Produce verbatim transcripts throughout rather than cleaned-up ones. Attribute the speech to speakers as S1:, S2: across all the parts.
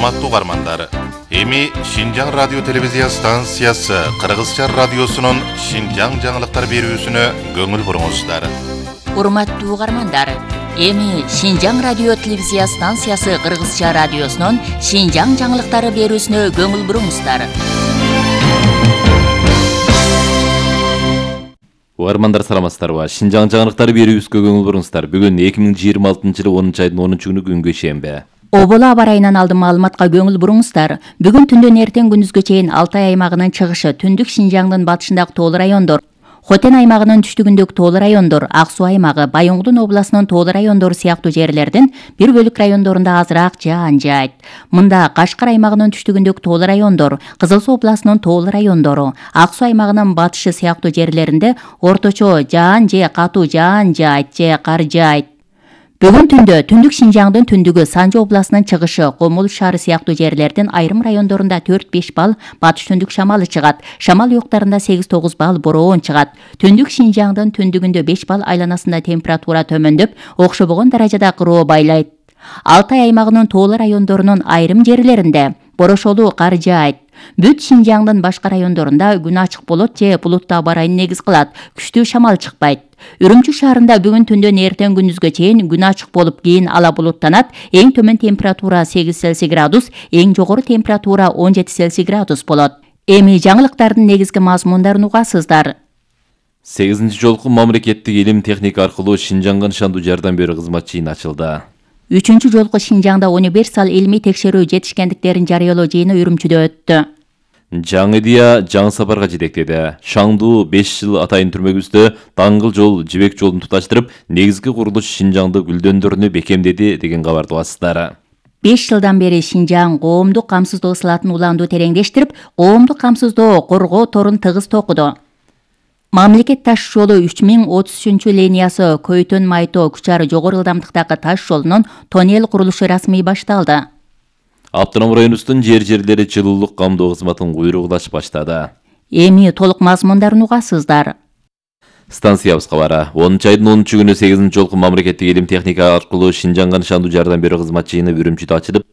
S1: Урматтуу угармандар, эми Шинжаң радио телевизия станциясы Кыргызча радиосунун Шинжаң жаңылыктар берүүсүнө көңүл буруңуздар.
S2: Урматтуу угармандар, эми Шинжаң радио телевизия станциясы Кыргызча радиосунун Шинжаң жаңылыктары берүүсүнө көңүл буруңуздар.
S3: Угармандар саламатсыздарбы? Шинжаң жаңылыктары берүүбүзгө көңүл буруңуздар. Бүгүн эки миң жыйырма алтынчы жылы онунчу айдын онунчу күнү күнгө шембе.
S2: Оболо аба ырайынан алдын маалыматка көңүл буруңуздар. Бүгүн түндөн эртең күндүзгө чейин Алтай аймагынын чыгышы, түндүк Шинжаңдын батышындагы тоолуу райондор, Хотен аймагынын түштүгүндөгү тоолуу райондор, Ак Суу аймагы, Байоңдун областынын тоолуу райондору сыяктуу жерлердин бир бөлүк райондорунда азыраак жаан жаайт. Мында Кашкар аймагынын түштүгүндөгү тоолуу райондор, Кызыл Суу областынын тоолуу райондору, Ак Суу аймагынын батышы сыяктуу жерлеринде орточо жаан же катуу жаан жаайт же кар жаайт. Бүгүн түндө түндүк Шинжаңдын түндүгү, Санжы областынын чыгышы, Комул шаары сыяктуу жерлердин айрым райондорунда төрт беш балл батыш түндүк шамалы чыгат. Шамал уюктарында сегиз тогуз балл бороон чыгат. Түндүк Шинжаңдын түндүгүндө беш балл, айланасында температура төмөндөп, окшобогон даражада кыроо байлайт. Алтай аймагынын тоолуу райондорунун айрым жерлеринде борошолуу кар жаайт. Бүт Шинжаңдын башка райондорунда күн ачык болот же булуттуу аба ырайын негиз кылат. Күчтүү шамал чыкпайт. Үрүмчү шаарында бүгүн түндөн эртең күндүзгө чейин күн ачык болуп, кийин ала булуттанат. Эң төмөн температура сегиз Цельсий градус, эң жогору температура он жети Цельсий градус болот. Эми жаңылыктардын негизги мазмундарын угасыздар.
S3: сегизинчи жолку мамлекеттик илим техника аркылуу Шинжаңга нышандуу жардам берүү кызмат жыйыны ачылды.
S2: Үчүнчү жолку Шинжаңда универсал илмий текшерүү жетишкендиктерин жарыялоо жыйыны Үрүмчүдө өттү.
S3: Жаңы идея жаңы сапарга жетектеди. Шаңдуу беш жыл атайын түрмөгүбүздө даңгыл жол, жибек жолун туташтырып, негизги курулуш Шинжаңды гүлдөндөрүнү бекемдеди деген кабарды угасыздар.
S2: беш жылдан бери Шинжаң коомдук камсыздоо сылатын уланду тереңдештирип, коомдук камсыздоо коргоо торун тыгыз токуду. Мамлекет таш жолу үч миң отуз үчүнчү линиясы Көйтөн Майто Кучар жогору ылдамдыктагы таш жолунун тоннель курулушу расмий башталды.
S3: Автоном районубуздун жер-жерлери жылуулук камдоо кызматын куйругулаш баштады.
S2: Эми толук мазмундарын угасыздар.
S3: Станциябыз кабары. онунчу айдын онунчу күнү сегизинчи жолку мамлекеттик илим техника аркылуу Шинжаңга нышандуу жардам берүү кызмат жыйыны Үрүмчүдө ачылып,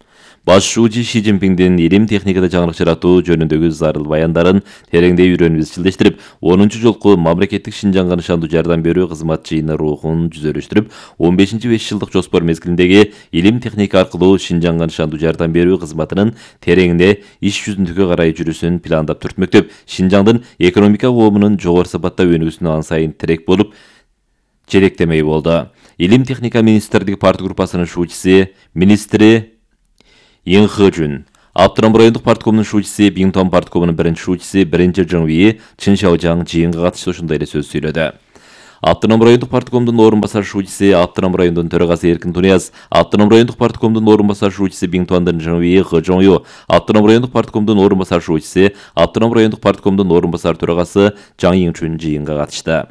S3: Баш шуучу Ши Цзиньпиңдин илим техникада жаңылык жаратуу жөнүндөгү зарыл баяндарын тереңдей үйрөнүп изчилдештирип, онунчу жолку мамлекеттик Шинжаңга нышандуу жардам берүү кызмат жыйыны рухун жүзөрүштүрүп, он бешинчи беш жылдык жоспор мезгилиндеги илим техника аркылуу Шинжаңга нышандуу жардам берүү кызматынын тереңинде иш жүзүндөгү карай жүрүүсүн пландап түртмөктөп, Шинжаңдын экономика коомунун жогору сапатта өнүгүүсүнө ан сайын тирек болуп жетектемей болду. Илим техника министрлиги парт группасынын шуучусу, министри Ин Хэжун, Автоном райондук парткомунун шуучусу, Биңтон парткомунун биринчи шуучусу, биринчи Жыңви Чын Шаожаң жыйынга катыштуу ушундай эле сөз сүйлөдү. Автоном райондук парткомдун орун басар шуучусу, Автоном райондун төрагасы Эркин Тунияз, Автоном райондук парткомдун орун басар шуучусу Биңтондун Жыңви Хэжоңю, Автоном райондук парткомдун орун басар шуучусу, Автоном райондук парткомдун орун басар төрагасы Жаң Иңчүн жыйынга катышты.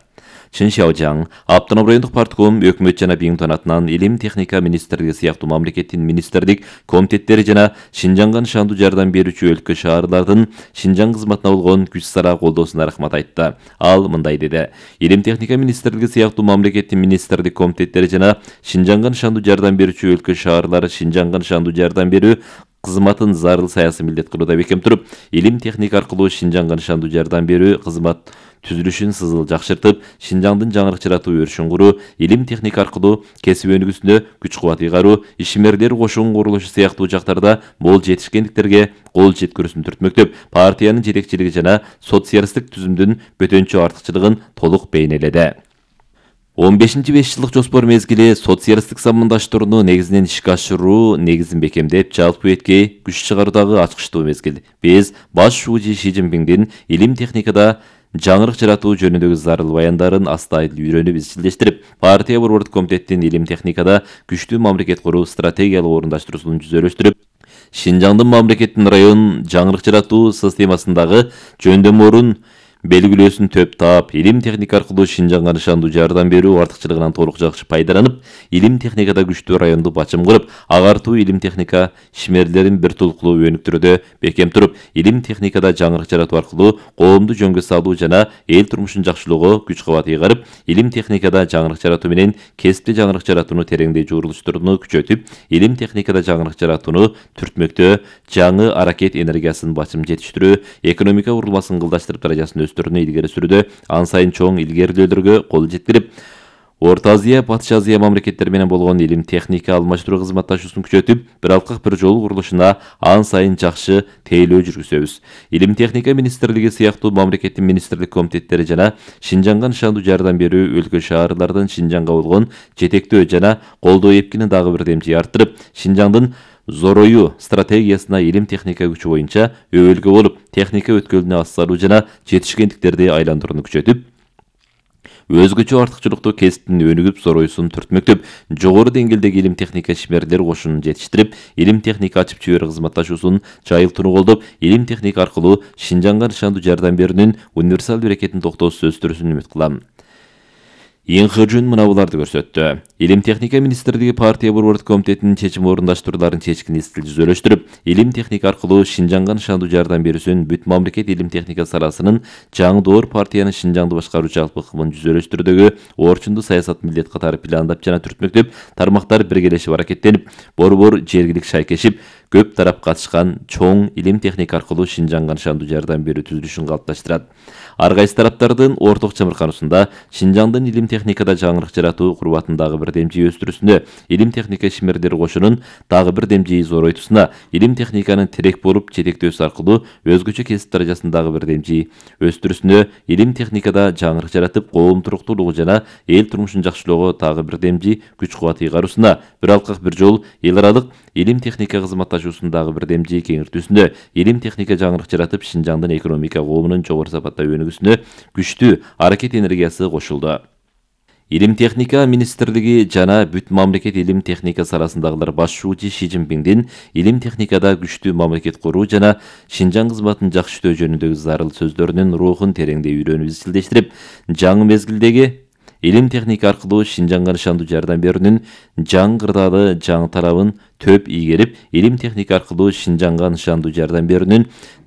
S3: Чын Шаожаң, Автоном райондук партком, өкмөт жана Биңтон атынан илим техника министрлиги сыяктуу мамлекеттин министрлик комитеттери жана Шинжаңга нышандуу жардам берүүчү өлкө шаарлардын Шинжаң кызматына болгон күч сара колдоосуна рахмат айтты. Ал мындай деди: илим техника министрлиги сыяктуу мамлекеттин министрлик комитеттери жана Шинжаңга нышандуу жардам берүүчү өлкө шаарлары Шинжаңга нышандуу жардам берүү кызматын зарыл саясий милдет кылууда бекем туруп, илим техника аркылуу Шинжаңга нышандуу жардам берүү кызмат түзүлүшүн сызыл жакшыртып, Шинжаңдын жаңырык жаратуу өрүшүн куруу, илим техника аркылуу кесип өнүгүүсүнө күч кубат ыйгаруу, ишмерлер кошуун курулушу сыяктуу жактарда мол жетишкендиктерге кол жеткирүүсүн түртмөктөп, партиянын жетекчилиги жана социалисттик түзүмдүн бөтөнчө артыкчылыгын толук бейнеледи. он бешинчи беш жылдык жоспор мезгили социалисттик замандаштырууну негизинен ишке ашыруу негизин бекемдеп, жалпы эткей күч чыгаруудагы ачкычтуу мезгил. Биз баш шуучу Ши Цзиньпиңдин илим техникада жаңырык жаратуу жөнүндөгү зарыл баяндарын астайыл үйрөнүп изчилдештирип, партия борбордук комитеттин илим техникада күчтүү мамлекет куруу стратегиялык орундаштыруусун жүзөрүштүрүп, Шинжаңдын мамлекеттин район жаңырык жаратуу системасындагы жөндөм орун белгилөөсүн төп таап, илим техника аркылуу Шинжаңга нышандуу жардам берүү артыкчылыгынан толук жакшы пайдаланып, илим техникада күчтүү районду бачым кылып, агартуу илим техника ишмерлерин бир толуктуу өнүктүрүүдө бекем туруп, илим техникада жаңырык жаратуу аркылуу коомду жөнгө салуу жана эл турмушун жакшылоого күч кубат ыйгарып, илим техникада жаңырык жаратуу менен кесипти жаңырык жаратууну тереңдей журулуштурууну күчөтүп, илим техникада жаңырык жаратууну түртмөктөө, жаңы аракет энергиясын бачым жетиштирүү, экономика курулмасын кылдаштырып даражасын өстүрүүнү илгери сүрүүдө ан сайын чоң илгерилөөлөргө кол жеткирип, Орто Азия, Батыш Азия мамлекеттери менен болгон илим техника алмаштыруу кызматташуусун күчөтүп, бир алкак бир жол курулушуна ан сайын жакшы тейлөө жүргүзөбүз. Илим техника министрлиги сыяктуу мамлекеттин министрлик комитеттери жана Шинжаңга нышандуу жардам берүү өлкө шаарлардын Шинжаңга болгон жетектөө жана колдоо эпкини дагы бир демчи арттырып, Шинжаңдын зорою стратегиясына илим техника күчү боюнча өбөлгө болуп, техника өткөлүнө ассалуу жана жетишкендиктерди айландырууну күчөтүп, өзгөчө артыкчылыктуу кесиптин өнүгүп зороюсун түртмөктөп, жогору деңгээлдеги илим техника ишмерлер кошунун жетиштирип, илим техника ачып жиберүү кызматташуусун жайылтууну колдоп, илим техника аркылуу Шинжаңга нышандуу жардам берүүнүн универсал берекетин токтоосуз өстүрүүсүн үмүт кылам. Инхыжун мына буларды көрсөттү. Илим техника министрлиги партия борбордук комитетинин чечим орундаштырууларын чечкин изтил жүзөлөштүрүп, илим техника аркылуу Шинжаңга нышандуу жардам берүүсүн бүт мамлекет илим техника саласынын жаңдоор партиянын Шинжаңды башкаруу жалпы ыкмын жүзөлөштүрүүдөгү орчундуу саясат милдет катары пландап жана түртмөктөп, тармактар биргелешип аракеттенип, борбор жергилик шайкешип, көп тарап катышкан чоң илим техника аркылуу Шинжаңга нышандуу жардам берүү түзүлүшүн калыпташтырат. Ар кайсы тараптардын орток чамыркануусунда Шинжаңдын илим техникада жаңырык жаратуу курбатын дагы бир демжи өстүрүүсүнө, илим техника ишмерлери кошунун дагы бир демжи зоройтуусуна, илим техниканын терек болуп жетектөөсү аркылуу өзгөчө кесип даражасын дагы бир демжи өстүрүүсүнө, илим техникада жаңырык жаратып, коом туруктуулугу жана эл турмушун жакшылоого дагы бир демжи күч кубат ыйгаруусуна, бир алкак бир жол эл аралык илим техника кызматташуусун дагы бир демжи кеңиртүүсүнө, илим техника жаңырык жаратып, Шинжаңдын экономика коомунун жогору сапатта өнүгүүсүнө күчтүү аракет энергиясы кошулду. Илим техника министрлиги жана бүт мамлекет илим техника саласындагылар башчуучу Ши Цзиньпиндин илим техникада күчтүү мамлекет куруу жана Шинжаң кызматын жакшыртуу жөнүндөгү зарыл сөздөрүнүн рухун тереңдей үйрөнүп изчилдештирип, жаңы мезгилдеги илим техника аркылуу Шинжаңга нышандуу жардам берүүнүн жаңы кырдаалы жаңы тарабын төп ийгерип, илим техника аркылуу Шинжаңга нышандуу жардам берүүнүн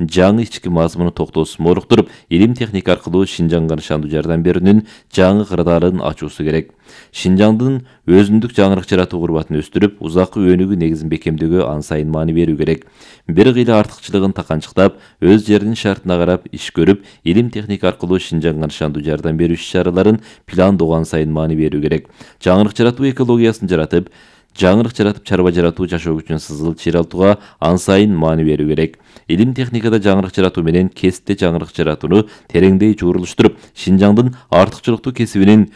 S3: жаңы ички мазмуну токтоосун молуктуруп, илим техника аркылуу Шинжаңга нышандуу жардам берүүнүн жаңы кырдаалын ачуусу керек. Шинжаңдын өзүндүк жаңырык жаратуу курбатын өстүрүп, узаккы өнүгүү негизин бекемдөөгө ан сайын маани берүү керек. Бир кыйла артыкчылыгын таканчыктап, өз жеринин шартына карап иш көрүп, илим техника аркылуу Шинжаңга нышандуу жардам берүү иш-чараларын пландоого ан сайын маани берүү керек. Жаңырык жаратуу экологиясын жаратып, жаңырык жаратып чарба жаратуу жашоо күчүн сызыл чыйралтууга ан сайын маани берүү керек. Илим техникада жаңырык жаратуу менен кесипте жаңырык жаратууну тереңдей журулуштуруп, Шинжаңдын артыкчылыктуу кесибинин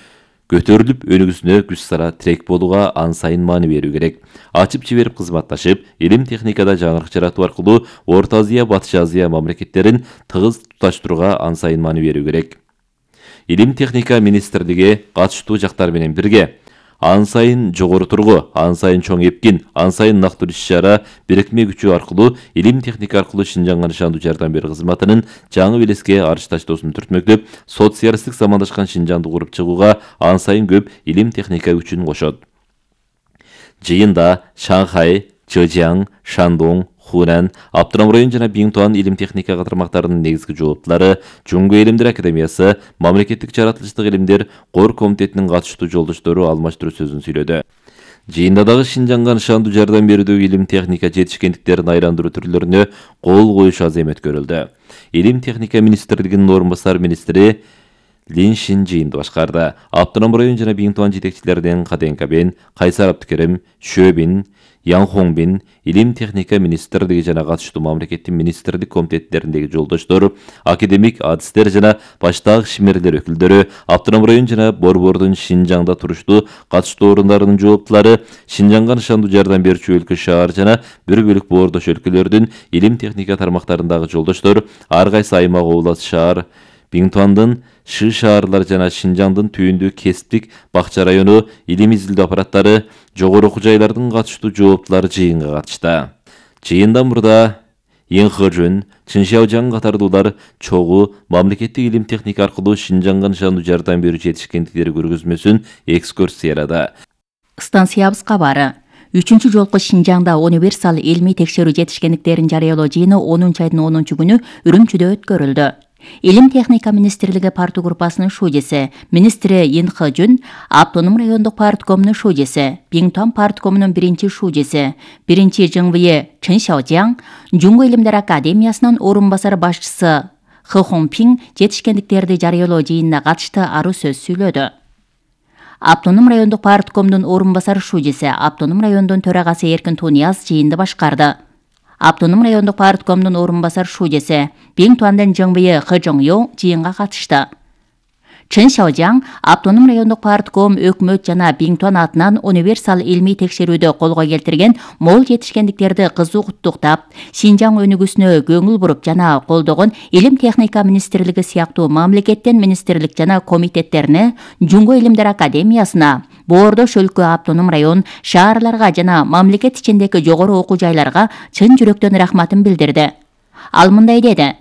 S3: көтөрүлүп өнүгүүсүнө күч сара тирек болууга ан сайын маани берүү керек. Ачып жиберип кызматташып, илим техникада жаңырык жаратуу аркылуу Орто Азия, Батыш Азия мамлекеттерин тыгыз туташтырууга ан сайын маани берүү керек. Илим техника министрлиги катыштуу жактар менен бирге ан сайын жогору тургу, ан сайын чоң эпкин, ан сайын нактуу иш-чара бирикме күчү аркылуу илим техника аркылуу Шинжаңга нышандуу жардам берүү кызматынын жаңы белеске арыш таштоосун түртмөктөп, социалисттик замандашкан Шинжаңды куруп чыгууга ан сайын көп илим техника күчүн кошот. Жыйында Шанхай, Чжэцзян, Шандong, Хунан, Аптырам район жана Биңтуан илим техника катармактарынын негизги жооптулары, Жуңгу элимдер академиясы, мамлекеттик жаратылыштык илимдер кор комитетинин катыштуу жолдоштору алмаштыруу сөзүн сүйлөдү. Жыйында дагы Шинжаңга нышандуу жардам берүүдөгү илим техника жетишкендиктерин айландыруу түрлөрүнө кол коюш аз эми өткөрүлдү. Илим техника министрлигинин орун басар министри Лин Шин жыйынды башкарды. Аптырам район жана Биңтуан жетекчилеринен Каденкабен, Кайсар Абдыкерим, Шөбин, Ян Хоңбин, илим техника министрлиги жана катыштуу мамлекеттин министрлик комитеттериндеги жолдоштору, академик адистер жана баштагы ишмерлер өкүлдөрү, Аптырам район жана борбордун Шинжаңда туруштуу катыштуу орундарынын жооптулары, Шинжаңга нышандуу жардам берүүчү өлкө шаар жана бир бөлүк боордош өлкөлөрдүн илим техника тармактарындагы жолдоштор, ар кайсы аймак област шаар, Биңтуандын Шы шаарлар жана Шинжаңдын түйүндүү кесиптик бакча району илим изилдөө аппараттары, жогору окуу жайлардын катыштуу жооптулары жыйынга катышты. Жыйындан мурда Инхажун, Чыншаожаң катардуулар чогуу мамлекеттик илим техника аркылуу Шинжаңга нышандуу жардам берүү жетишкендиктери көргөзмөсүн экскурсиялады.
S2: Станциябыз кабары. Үчүнчү жолку Шинжаңда универсал илмий текшерүү жетишкендиктерин жарыялоо жыйыны онунчу айдын онунчу күнү Үрүмчүдө өткөрүлдү. Илим техника министрлиги парты группасынын шужеси, министри Инхажун, автоном райондук парткомунун шужеси, Биңтуан парткомунун биринчи шужеси, биринчи ЖыңВИ Чыншаожаң, Жуңго илимдер академиясынын орун басары башчысы Хы Хонпиң жетишкендиктерди жарыялоо жыйынына катышты арыз сөз сүйлөдү. Автоном райондук парткомдун орун басары шужеси, автоном райондун төрагасы Эркин Тунияз жыйынды башкарды. Автоном райондук парткомдун орун басары шужеси, Биңтуандын ЖыңВИ Хы Жоңё жыйынга катышты. Чыншаожаң автоном райондук партком өкмөт жана Биңтуан атынан универсал илмий текшерүүдө колго келтирген мол жетишкендиктерди кызуу куттуктап, Шинжаң өнүгүүсүнө көңүл буруп жана колдогон Илим техника министрлиги сыяктуу мамлекеттен министрлик жана комитеттерине, Жуңго илимдер академиясына, Боордош өлкө автоном район, шаарларга жана мамлекет ичиндеги жогору окуу жайларга чын жүрөктөн рахматын билдирди. Ал мындай деди: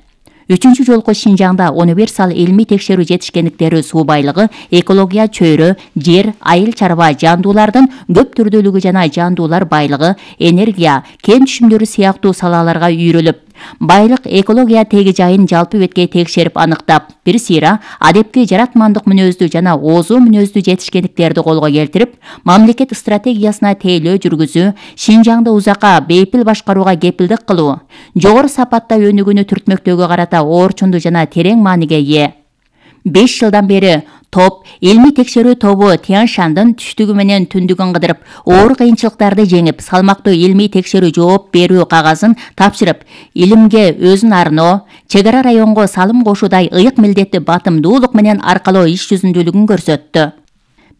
S2: Үчүнчү жолку Шинжаңда универсал илмий текшерүү жетишкендиктери суу байлыгы, экология чөйрө, жер, айыл чарба жандуулардын көп түрдүүлүгү жана жандуулар байлыгы, энергия, кен түшүмдөрү сыяктуу салаларга үйрөлүп, байлык, экология теги жайын жалпы беткей текшерип аныктап, бир сыйра адепки жаратмандык мүнөздүү жана оозу мүнөздүү жетишкендиктерди колго келтирип, мамлекет стратегиясына тейлөө жүргүзүү, Шинжаңды узакка бейпил башкарууга кепилдик кылуу, жогору сапатта өнүгүүнү түртмөктөөгө карата орчундуу жана терең мааниге ээ. беш жылдан бери топ илмий текшерүү тобу Тянь-Шандын түштүгү менен түндүгүн кыдырып, оор кыйынчылыктарды жеңип, салмактуу илмий текшерүү жооп берүү кагазын тапшырып, илимге өзүн арноо, чегара районго салым кошуудай ыйык милдетти батымдуулук менен аркалоо иш жүзүндүүлүгүн көрсөттү.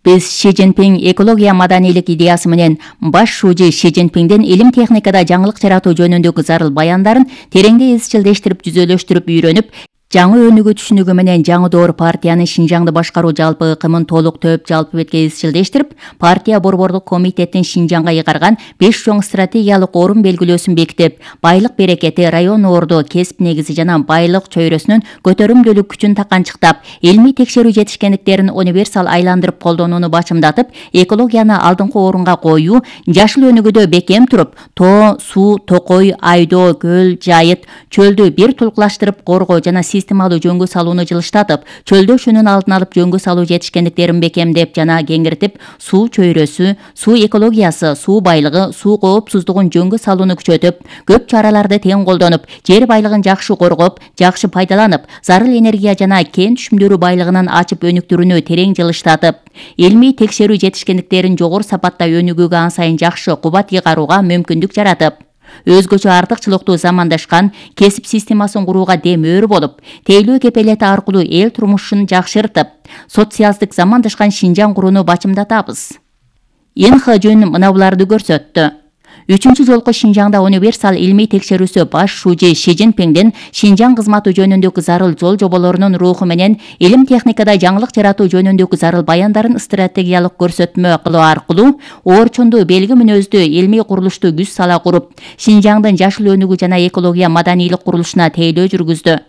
S2: Биз Ши Цзиньпин экология маданийлик идеясы менен баш шужи Ши Цзиньпиндин илим техникада жаңылык жаратуу жөнүндөгү зарыл баяндарын тереңдей изчилдештирип, жүзөлөштүрүп, үйрөнүп, жаңы өнүгүү түшүнүгү менен жаңы доор партиянын Шинжаңды башкаруу жалпы ыкымын толуктөп, жалпы бетке изчилдештирип, партия борборлук комитеттин Шинжаңга ыйгарган беш чоң стратегиялык орун белгилөөсүн бекитип, байлык берекети, район орду, кесип негизи жана байлык чөйрөсүнүн көтөрүмдүүлүк күчүн таканчыктап, илмий текшерүү жетишкендиктерин универсал айландырып колдонууну бачымдатып, экологияны алдыңкы орунга коюу, жашыл өнүгүүдө бекем туруп, тоо, суу, токой, айдоо, көл, жайыт, чөлдү бир тулкулаштырып коргоо жана системалуу жөнгө салууну жылыштатып, чөлдөшүүнүн алдын алып жөнгө салуу жетишкендиктерин бекемдеп жана кеңиртип, суу чөйрөсү, суу экологиясы, суу байлыгы, суу коопсуздугун жөнгө салууну күчөтүп, көп чараларды тең колдонуп, жер байлыгын жакшы коргоп, жакшы пайдаланып, зарыл энергия жана кен түшүмдөрү байлыгынын ачып өнүктүрүүнү терең жылыштатып, илмий текшерүү жетишкендиктерин жогору сапатта өнүгүүгө ан сайын жакшы кубат ыйгарууга мүмкүндүк жаратып, өзгөчө артыкчылыктуу замандашкан кесип системасын курууга демөөр болуп, тейлөө кепелети аркылуу эл турмушун жакшыртып, социалдык замандашкан Шинжаң курууну бачымдатабыз. Инхажун мына буларды көрсөттү. Үчүнчү жолку Шинжаңда универсал илмий текшерүүсү баш шужи Ши Цзиньпиндин Шинжаң кызматы жөнүндөгү зарыл жол жоболорунун руху менен илим техникада жаңылык жаратуу жөнүндөгү зарыл баяндарын стратегиялык көрсөтмө кылуу аркылуу орчундуу белги мүнөздүү илмий курулушту күч сала куруп, Шинжаңдын жашыл өнүгүү жана экология маданийлик курулушуна тейлөө жүргүздү.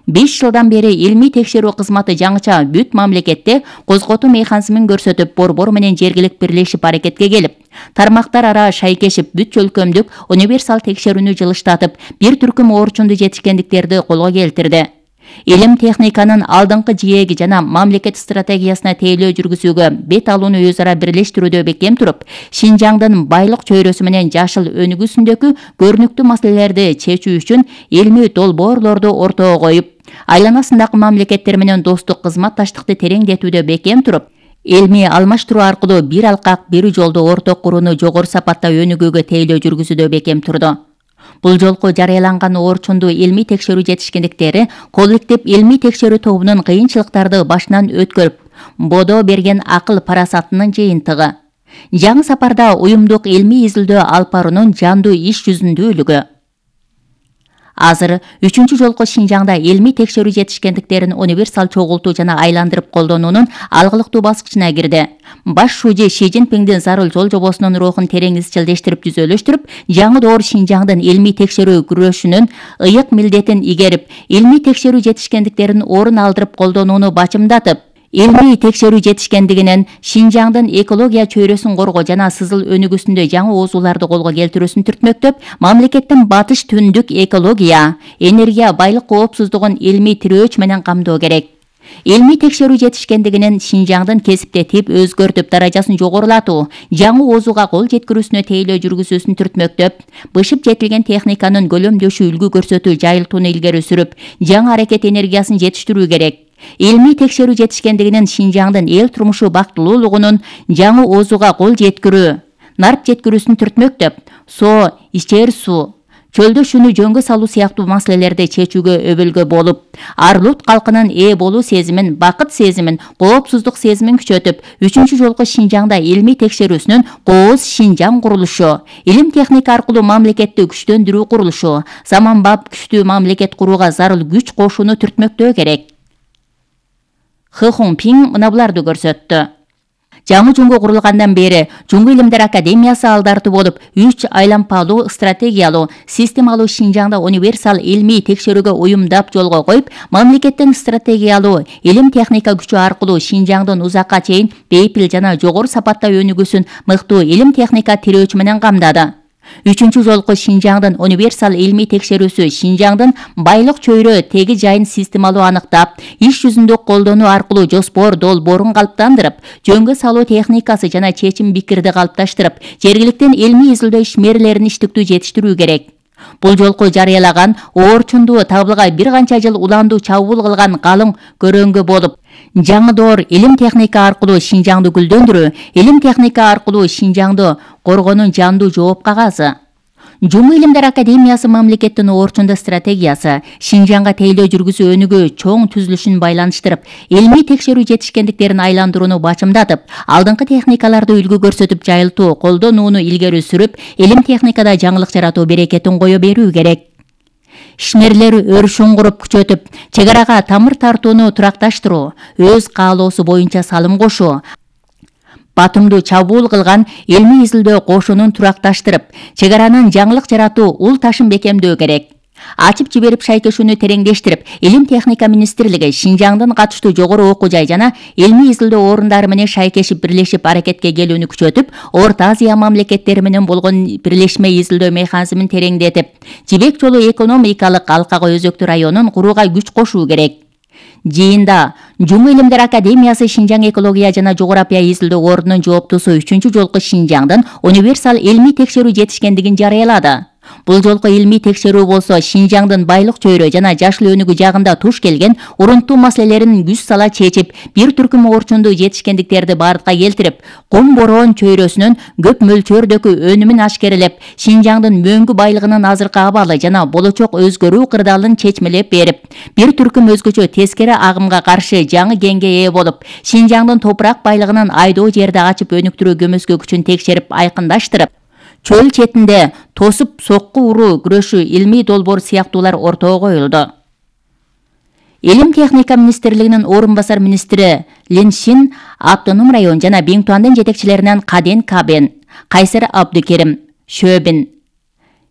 S2: беш жылдан бери илмий текшерүү кызматы жаңыча бүт мамлекетте козготуу механизмин көрсөтүп, борбор менен жергилик бирлешип аракетке келип, тармактар ара шайкешип, бүт чөлкөмдүк универсал текшерүүнү жылыштатып, бир түркүм орчундуу жетишкендиктерди колго келтирди. Илим техниканын алдыңкы жээги жана мамлекет стратегиясына тейлөө жүргүзүүгө бет алууну өз ара бирлештирүүдө бекем туруп, Шинжаңдын байлык чөйрөсү менен жашыл өнүгүүсүндөгү көрүнүктүү маселелерди чечүү үчүн илмий долбоорлорду ортого коюп, айланасындагы мамлекеттер менен достук кызматташтыкты тереңдетүүдө бекем туруп, илмий алмаштыруу аркылуу бир алкак, бир жолду орток курууну жогору сапатта өнүгүүгө тейлөө жүргүзүүдө бекем турду. Бул жолку жарыяланган орчундуу илмий текшерүү жетишкендиктери коллектив илмий текшерүү тобунун кыйынчылыктарды башынан өткөрүп, бодо берген акыл парасатынын жыйынтыгы. Жаңы сапарда уюмдук илмий изилдөө алып баруунун жандуу иш жүзүндүүлүгү. Азыр үчүнчү жолку Шинжаңда илмий текшерүү жетишкендиктерин универсал чогултуу жана айландырып колдонуунун алгылыктуу баскычына кирди. Баш шужи Ши Цзиньпиңдин зарыл жол жобосунун рухун терең изчилдештирип түзөлүштүрүп, жаңы доор Шинжаңдын илмий текшерүү күрөшүнүн ыйык милдетин игерип, илмий текшерүү жетишкендиктерин орун алдырып колдонууну бачымдатып, илмий текшерүү жетишкендигинен Шинжаңдын экология чөйрөсүн коргоо жана сызыл өнүгүүсүндө жаңы оозуларды колго келтирүүсүн түртмөктөп, мамлекеттин батыш түндүк экология, энергия байлык коопсуздугун илмий тирөөч менен камдоо керек. Илмий текшерүү жетишкендигинен Шинжаңдын кесипте тип өзгөртүп, даражасын жогорулатуу, жаңы оозуга кол жеткирүүсүнө тейлөө жүргүзүүсүн түртмөктөп, бышып жетилген техниканын көлөмдөшү үлгү көрсөтүү жайылтууну илгери сүрүп, жаңы аракет энергиясын жетиштирүү керек. Илмий текшерүү жетишкендигинен Шинжаңдын эл турмушу бактылуулугунун жаңы оозуга кол жеткирүү, нарп жеткирүүсүн түртмөктөп, соо, ичер суу, чөлдө шүнү жөнгө салуу сыяктуу маселелерди чечүүгө өбөлгө болуп, арлут калкынын ээ болуу сезимин, бакыт сезимин, коопсуздук сезимин күчөтүп, үчүнчү жолку Шинжаңда илмий текшерүүсүнүн кооз Шинжаң курулушу, илим техника аркылуу мамлекетти күчтөндүрүү курулушу, заманбап күчтүү мамлекет курууга зарыл күч кошууну түртмөктөө керек. Хы Хунпиң мына буларды көрсөттү. Жаңы Жумго курулгандан бери Жумгу илимдер академиясы алдартуу болуп, үч айлампалуу, стратегиялуу, системалуу Шинжаңда универсал илмий текшерүүгө уюмдап жолго коюп, мамлекеттин стратегиялуу илим техника күчү аркылуу Шинжаңдын узакка чейин бейпил жана жогору сапатта өнүгүүсүн мыктуу илим техника тирөөч менен камдады. Үчүнчү жолку Шинжаңдын универсал илмий текшерүүсү Шинжаңдын байлык чөйрө теги жайын системалуу аныктап, иш жүзүндө колдонуу аркылуу жоспор долбоорун калыптандырып, жөнгө салуу техникасы жана чечим бикирди калыпташтырып, жергиликтен илмий изилдөө ишмерлерин иштиктүү жетиштирүү керек. Бул жолку жарыялаган оорчундуу табылгай бир канча жыл уландуу чабуул кылган калың көрөңгү болуп, жаңы доор илим техника аркылуу Шинжаңды гүлдөндүрүү, илим техника аркылуу Шинжаңды коргоонун жандуу жооп кагазы. Жумгу илимдер академиясы мамлекеттин оорчунда стратегиясы Шинжаңга тейлөө жүргүзүү өнүгүү чоң түзүлүшүн байланыштырып, илмий текшерүү жетишкендиктерин айландырууну бачымдатып, алдыңкы техникаларды үлгү көрсөтүп жайылтуу, колдонууну илгери сүрүп, илим техникада жаңылык жаратуу берекетин кое берүү керек. Ишмерлер өрүшүн куруп күчөтүп, чек арага тамыр тартууну туракташтыруу, өз каалоосу боюнча салым кошуу, батымдуу чабуул кылган илмий изилдөө кошунун туракташтырып, чек аранын жаңылык жаратуу ул ташын бекемдөө керек. Ачып жиберип шайкешүүнү тереңдештирип, илим техника министрлиги Шинжаңдын катыштуу жогору окуу жай жана илмий изилдөө орундары менен шайкешип бирлешип аракетке келүүнү күчөтүп, Орто Азия мамлекеттери менен болгон бирлешме изилдөө механизмин тереңдетип, жибек жолу экономикалык алкагы өзөктүү районун курууга күч кошуу керек. Жыйында Жумгу илимдер академиясы Шинжаң экология жана жогорапия изилдөө ордунун жооптуусу үчүнчү жолку Шинжаңдын универсал илмий текшерүү жетишкендигин жарыялады. Бул жолку илмий текшерүү болсо Шинжаңдын байлык чөйрө жана жашыл өнүгүү жагында туш келген урунттуу маселелерин күч сала чечип, бир түркүм оорчундуу жетишкендиктерди бардыкка келтирип, кум бороон чөйрөсүнүн көп мөлчөрдөгү өнүмүн ашкерелеп, Шинжаңдын мөңгү байлыгынын азыркы абалы жана болочок өзгөрүү кырдаалын чечмелеп берип, бир түркүм өзгөчө тескери агымга каршы жаңы кеңге ээ болуп, Шинжаңдын топурак байлыгынын айдоо жерди ачып өнүктүрүү көмөскө күчүн текшерип айкындаштырып, чөл четинде тосуп сокку уруу күрөшүү илмий долбоор сыяктуулар ортого коюлду. Илим техника министрлигинин орун басар министри Лин Шин, Автоном район жана Биңтуандын жетекчилеринен Каден Кабен, Кайсер Абдукерим, Шөбин,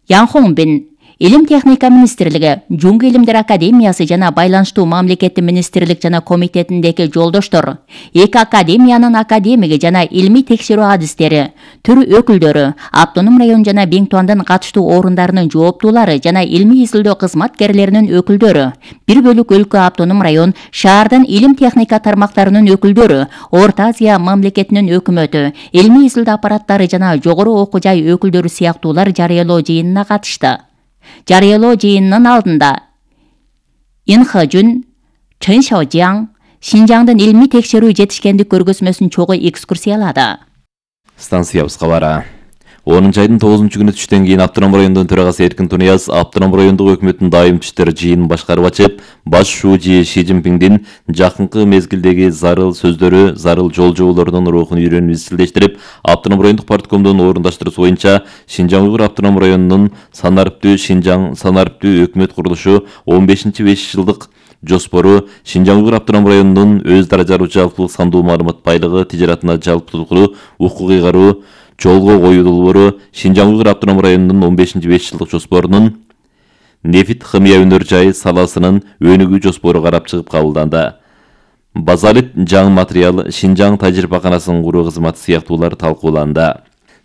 S2: Янхоңбин, Илим техника министрлиги, Жумгу илимдер академиясы жана байланыштуу мамлекеттик министрлик жана комитетиндеги жолдоштор, эки академиянын академиги жана илмий текшерүү адистери, түр өкүлдөрү, Автоном район жана Биңтуандын катыштуу орундарынын жооптуулары жана илмий изилдөө кызматкерлеринин өкүлдөрү, бир бөлүк өлкө Автоном район, шаардын илим техника тармактарынын өкүлдөрү, Орто Азия мамлекетинин өкмөтү, илмий изилдөө аппараттары жана жогору окуу жай өкүлдөрү сыяктуулар жарыялоо жыйынына катышты. Жарыялоо жыйынынын алдында Ин Хэжүн, Чын Шаожаң Шинжаңдын илмий текшерүү жетишкендик көргөзмөсүн чогуу экскурсиялады.
S3: Станциябызга бара. онунчу айдын тогузунчу күнү түштөн кийин Автоном районунун төрагасы Эркин Тунияз Автоном райондук өкмөттүн дайым түштөр жыйынын башкарып ачып, баш шуужи Ши Цзиньпиңдин жакынкы мезгилдеги зарыл сөздөрү, зарыл жол жоболорунун рухун үйрөнүп изчилдештирип, Автоном райондук парткомдун орундаштыруусу боюнча Шинжаң Уйгур автоном районунун санариптүү Шинжаң санариптүү өкмөт курулушу он бешинчи беш жылдык жоспору, Шинжаң Уйгур автоном районунун өз даражалуу жалпылык сандуу маалымат байлыгы тижаратына жалпылыктуу укук ыйгаруу жолго коюу долбоору, Шинжаң Уйгур автоном районунун он бешинчи беш жылдык жоспорунун нефит химия өнөр жайы саласынын өнүгүү жоспору карап чыгып кабылданды. Базалит жаңы материал, Шинжаң тажрыйбаканасынын куруу кызматы сыяктуулар талкууланды.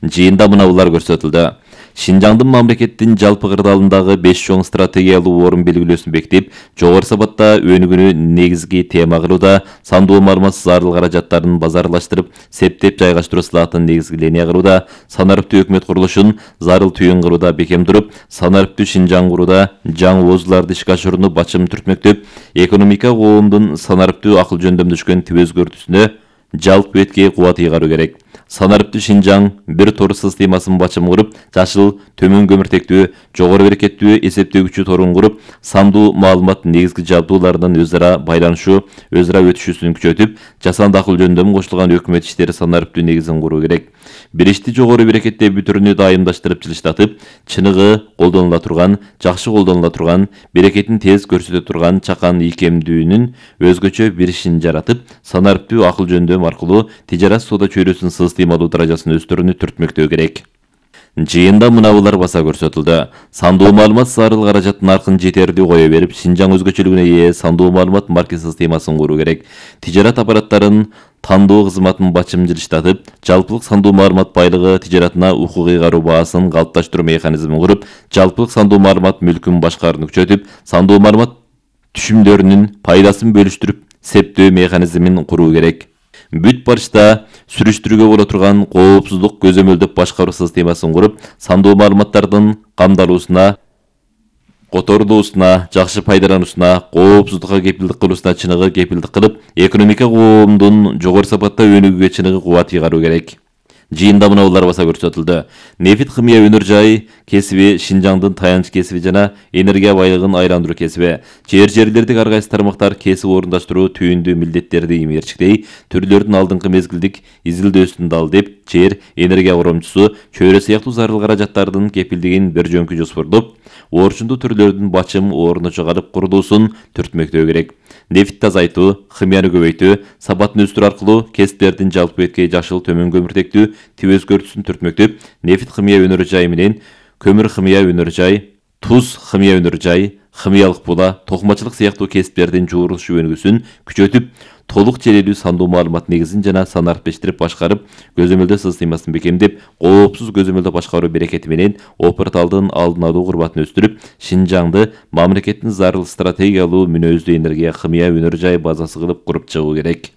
S3: Жыйында мынабулар көрсөтүлдү. Шинжаңдын мамлекеттин жалпы кырдаалындагы беш чоң стратегиялуу орун белгилөөсүн бекитип, жогору сапатта өнүгүүнү негизги тема кылууда, сандуу маалымат зарыл каражаттарын базарлаштырып, септеп жайгаштыруу сылаатын негизги линия кылууда, санариптүү өкмөт курулушун зарыл түйүн кылууда бекем туруп, санариптүү Шинжаң курууда жаңы оозуларды ишке ашырууну бачым түртмөктөп, экономика коомдун санариптүү акыл жөндөмдө түшкөн тип өзгөртүүсүнө жалпы бетке кубат ыйгаруу керек. Санариптүү Шинжаң бир тор системасын бачым куруп, жашыл, төмөн көмүртектүү, жогору берекеттүү эсептөгүчү торун куруп, сандуу маалымат негизги жабдууларынын өз ара байланышы, өз ара өтүшүүсүн күчөтүп, жасанды акыл жөндөмү кошулган өкмөт иштери санариптүү негизин куруу керек. Бир ишти жогору берекетте бүтүрүнү дайымдаштырып жылыштатып, чыныгы колдонула турган, жакшы колдонула турган, берекетин тез көрсөтө турган чакан ийкемдүүнүн өзгөчө бир ишин жаратып, санариптүү акыл жөндөм аркылуу тижарат соода чөйрөсүнүн системалуу даражасын өстөрүүнү түртмөктөө керек. Жыйында мынабулар баса көрсөтүлдү. Сандуу маалымат зарыл каражаттын аркын жетерлүү кое берип, Шинжаң өзгөчөлүгүнө ээ сандуу маалымат маркет системасын куруу керек. Тижарат аппараттарын тандоо кызматын бачым жылыштатып, жалпылык сандуу маалымат байлыгы тижаратына укук ыйгаруу баасын калыпташтыруу механизмин куруп, жалпылык сандуу маалымат мүлкүн башкарууну күчөтүп, сандуу маалымат түшүмдөрүнүн пайдасын бөлүштүрүп, септөө механизмин куруу керек. Бүт барышта сүрүштүрүүгө боло турган коопсуздук көзөмөлдөп башкаруу системасын куруп, сандуу маалыматтардын камдалуусуна, которулуусуна, жакшы пайдалануусуна, коопсуздукка кепилдик кылуусуна чыныгы кепилдик кылып, экономика коомдун жогору сапатта өнүгүүгө чыныгы кубат ыйгаруу керек. Жыйында мынабулар баса көрсөтүлдү. Нефит химия өнөр жайы кесиби Шинжаңдын таянч кесиби жана энергия байлыгын айландыруу кесиби. Жер жерлердик ар кайсы тармактар кесип орундаштыруу түйүндүү милдеттерди иймерчиктей, түрлөрдүн алдыңкы мезгилдик изилдөөсүн дал деп, жер, энергия коромчусу, чөйрө сыяктуу зарыл каражаттардын кепилдигин бир жөнкү жоспордоп, орчундуу түрлөрдүн бачым ордуна чыгарып курулуусун түртмөктөө керек. Нефтти азайтуу, химияны көбөйтүү, сапатын өстүрүү аркылуу кесиптердин жалпы бетке жашыл, төмөн көмүртектүү тип өзгөртүүсүн түртмөктөп, нефит химия өнөр жайы менен көмүр химия өнөр жай, туз химия өнөр жай, химиялык була, токумачылык сыяктуу кесиптердин жуурулуш өнүгүүсүн күчөтүп, толук желелүү сандуу маалымат негизин жана санариптештирип башкарып, көзөмөлдөө системасын бекемдеп, коопсуз көзөмөлдөө башкаруу берекети менен опырталдын алдын алуу курбатын өстүрүп, Шинжаңды мамлекеттин зарыл стратегиялуу мүнөздүү энергия химия өнөр жай базасы кылып куруп чыгуу керек.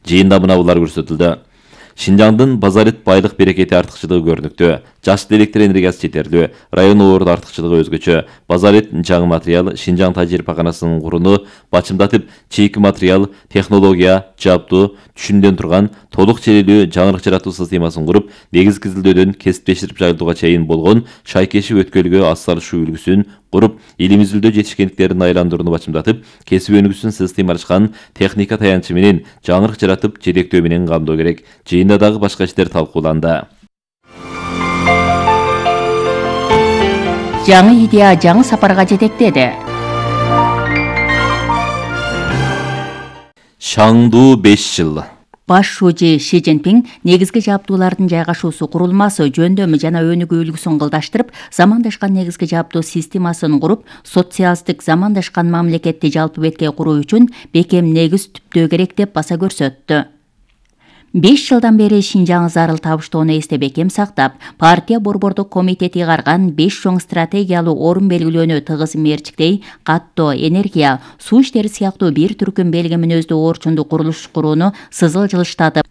S3: Жыйында мынабулар көрсөтүлдү. Шинжаңдын базалит байлык берекети артыкчылыгы көрүнүктүү. Жашыл электр энергиясы жетерлүү, район орду артыкчылыгы өзгөчө. Базалит жаңы материал, Шинжаң тажрыйбаканасынын курууну бачымдатып, чийки материал, технология, жабдуу, түшүмдөн турган толук желелүү жаңырык жаратуу системасын куруп, негизги изилдөөдөн кесиптеширип жайылтууга чейин болгон шайкеши өткөлгө ас салышуу үлгүсүн куруп, илим изилдөө жетишкендиктерин айландырууну бачымдатып, кесип өнүгүүсүн системалашкан техника таянчы менен жаңырык жаратып, жетектөө менен камдоо керек. Жыйында дагы башка иштер талкууланды.
S2: Жаңы идея жаңы сапарга жетектеди.
S3: Шаңдуу беш жыл.
S2: Баш шуужи Ши Цзиньпиң негизги жабдуулардын жайгашуусу курулмасы, жөндөмү жана өнүгүү үлгүсүн кылдаштырып, замандашкан негизги жабдуу системасын куруп, социалисттик замандашкан мамлекетти жалпы бетке куруу үчүн бекем негиз түптөө керек деп баса көрсөттү. беш жылдан бери Шинжаң зарыл табыштоону эсте бекем сактап, партия борбордук комитети ыйгарган беш чоң стратегиялуу орун белгилөөнү тыгыз мерчиктей, каттоо, энергия, суу иштери сыяктуу бир түркүм белги мүнөздүү орчундуу курулуш курууну сызыл жылыштатып,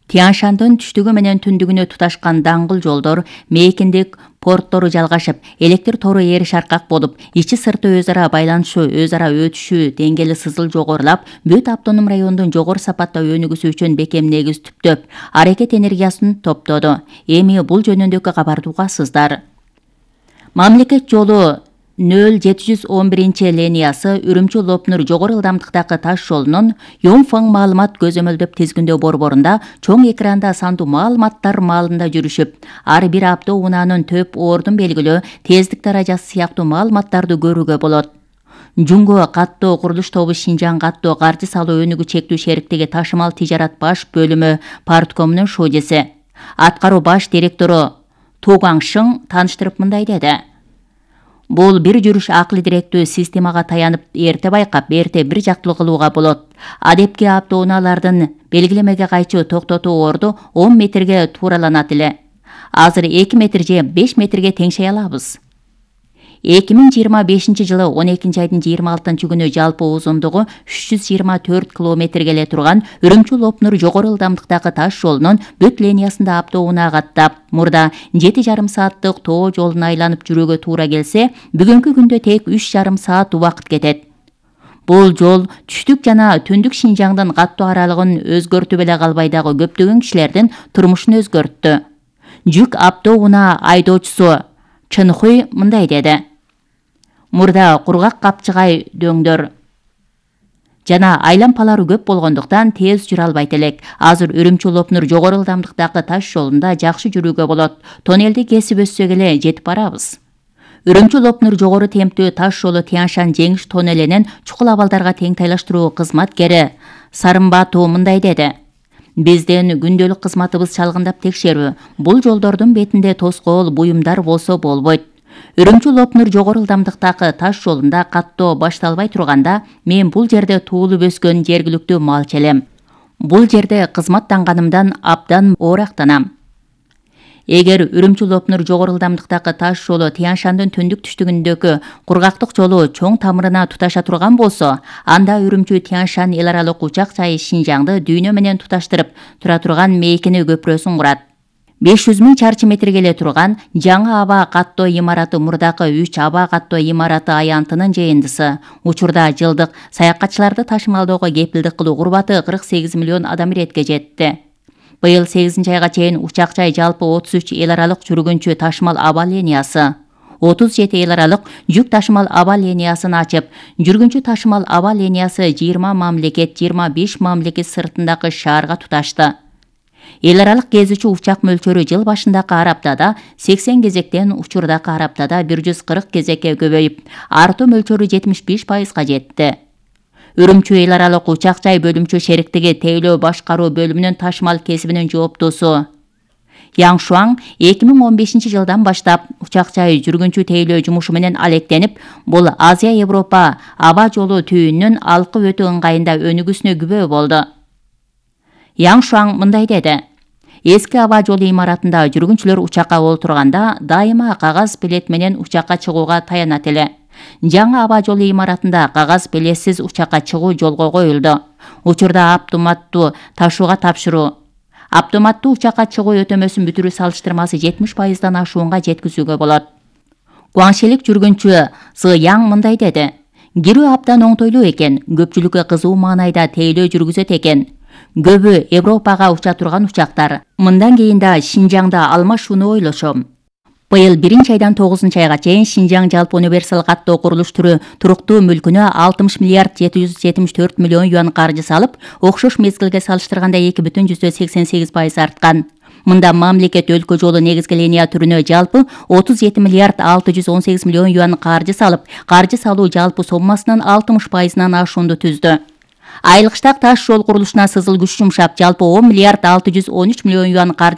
S2: Тянь-Шандын түштүгү менен түндүгүнө туташкан даңгыл жолдор, мейкиндик порттору жалгашып, электр тору ээри шаркак болуп, ичи сырты өз ара байланышы, өз ара өтүшү деңгээли сызыл жогорулап, бүт автоном райондун жогору сапатта өнүгүүсү үчүн бекем негиз түптөп, аракет энергиясын топтоду. Эми бул жөнүндөгү кабарды угасыздар. Мамлекет жолу нөл жети жүз он биринчи линиясы Үрүмчү-Лопнур жогору ылдамдыктагы таш жолунун Йонфаң маалымат көзөмөлдөп тизгиндөө борборунда чоң экранда сандуу маалыматтар маалында жүрүшүп, ар бир автоунаанын төп ордун белгилөө, тездик даражасы сыяктуу маалыматтарды көрүүгө болот. Жунго каттоо курулуш тобу Шинжаң каттоо каржы салуу өнүгүү чектүү шериктиги ташымал тижарат баш бөлүмү парткомунун шожеси, аткаруу баш директору Тугаң Шың тааныштырып мындай деди. Бул бир жүрүш акыл директүү системага таянып, эрте байкап, эрте бир жактылуу кылууга болот. Адепки автоунаалардын белгилемеге кайчы токтотуу орду он метрге туураланат эле. Азыр эки метр же беш метрге теңшей алабыз. эки миң жыйырма бешинчи жылы он экинчи айдын жыйырма алтынчы күнү жалпы узундугу үч жүз жыйырма төрт километрге эле турган Үрүмчү-Лопнур жогору ылдамдыктагы таш жолунун бүт линиясында автоунаа каттап, мурда жети жарым сааттык тоо жолун айланып жүрүүгө туура келсе, бүгүнкү күндө тек үч жарым саат убакыт кетет. Бул жол түштүк жана түндүк Шинжаңдын каттоо аралыгын өзгөртүп эле калбай дагы көптөгөн кишилердин турмушун өзгөрттү. Жүк автоунаа айдоочусу Чынхуй мындай деди. Мурда кургак капчыгай дөңдөр жана айлампалары көп болгондуктан тез жүрө албайт элек. Азыр Үрүмчү-Лопнур жогору ылдамдыктагы таш жолунда жакшы жүрүүгө болот. Тоннелди кесип өссөк эле жетип барабыз. Үрүмчү-Лопнур жогору темптүү таш жолу Тянь-Шань жеңиш тоннелинин чукул абалдарга тең тайлаштыруу кызматкери Сарымбатуу мындай деди. Биздин күндөлүк кызматыбыз чалгындап текшерүү. Бул жолдордун бетинде тоскоол буюмдар болсо болбойт. Үрүмчү-Лопнур жогору ылдамдыктагы таш жолунда каттоо башталбай турганда, мен бул жерде туулуп өскөн жергиликтүү малчы элем. Бул жерде кызматтанганымдан абдан оорактанам. Эгер Үрүмчү-Лопнур жогору ылдамдыктагы таш жолу Тянь-Шандын түндүк түштүгүндөгү кургактык жолу чоң тамырына туташа турган болсо, анда Үрүмчү-Тянь-Шань эл аралык учак жайы Шинжаңды дүйнө менен туташтырып тура турган мейкини көпүрөсүн курат. беш жүз миң чарчы метрге эле турган жаңы аба каттоо имараты мурдакы үч аба каттоо имараты аянтынын жыйындысы. Учурда жылдык саякатчыларды ташымалоого кепилдик кылуу курбаты кырк сегиз миллион адам иретке жетти. Быйыл сегизинчи айга чейин учак жай жалпы отуз үч эл аралык жүргүнчү ташымал аба линиясы, отуз жети эл аралык жүк ташымал аба линиясын ачып, жүргүнчү ташымал аба линиясы жыйырма мамлекет, жыйырма беш мамлекет сыртындагы шаарга туташты. Эл аралык кезүүчү учак мөлчөрү жыл башындагы араптада сексен кезектен учурдагы араптада бир жүз кырк кезекке көбөйүп, артуу мөлчөрү жетимиш беш пайызга жетти. Үрүмчү эл аралык учак жай бөлүмчө шериктиги тейлөө башкаруу бөлүмүнүн ташымал кесибинин жооптусу Яң Шуаң эки миң он бешинчи жылдан баштап учак жай жүргүнчү тейлөө жумушу менен алектенип, бул Азия Европа аба жолу түйүнүнүн алкы өтүү ыңгайында өнүгүүсүнө күбө болду. Яң Шуаң мындай деди. Эски аба жолу имаратында жүргүнчүлөр учакка олтурганда дайыма кагаз билет менен учакка чыгууга таянат эле. Жаңы аба жолу имаратында кагаз билетсиз учакка чыгуу жолго коюлду. Учурда автоматтуу ташууга тапшыруу, автоматтуу учакка чыгуу өтөмөсүн бүтүрүү салыштырмасы жетимиш пайыздан ашуунга жеткизүүгө болот. Гуаңшелик жүргүнчү Сы Яң мындай деди. Кирүү абдан оңтойлуу экен, көпчүлүккө кызуу маанайда тейлөө жүргүзөт экен. Көбү Европага уча турган учактар. Мындан кийин да Шинжаңда алмашууну ойлошом. Быйыл биринчи айдан тогузунчу айга чейин Шинжаң жалпы универсал каттоо курулуш түрү туруктуу мүлкүнө алтымыш миллиард жети жүз жетимиш төрт миллион юан каржы салып, окшош мезгилге салыштырганда эки бүтүн жүздөн сексен сегиз пайыз арткан. Мында мамлекет өлкө жолу негизги линия түрүнө жалпы отуз жети миллиард алты жүз он сегиз миллион юан каржы салып, каржы салуу жалпы соммасынын алтымыш пайызынан ашуунду түздү. Айылкыштак таш жол курулушуна сызыл күч жумшап, жалпы он миллиард алты жүз он үч миллион юан каржы